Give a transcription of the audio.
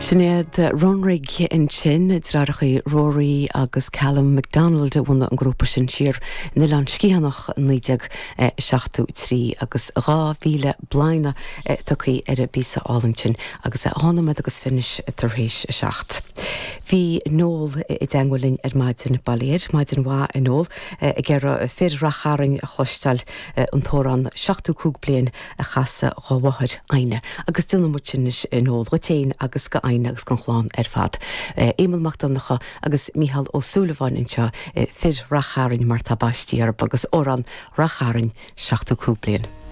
Sin iad Runrig ansin, deartháireacha Rory agus Callum McDonald a bhunaigh an grúpa sin siar in Oileán Sciathanach i 1973 agus 2,000 bladhmanna tugtha ar an bpíosa álainn sin agus é 2 nóiméad agus 20 anois tar éis a 7. Bhí Noel i dteangmháil linn ar maidin, bail ó Dhia air, maidin mhaith a Noel, ag iarraidh Fir Rath Chairn a chloisteáil, an t-amhrán 75 bliain a chasadh dhá mháthair Adhna. Agus déanfaidh muid sin anois a Noel, dhuit fhéin agus go Adhna agus don chlann ar fad. Éamonn Mac Donncha agus Mícheál Ó Súilleabháin anseo, Fir Rath Chairn mar tá baistí orthu agus amhrán Rath Chairn 75 bliain.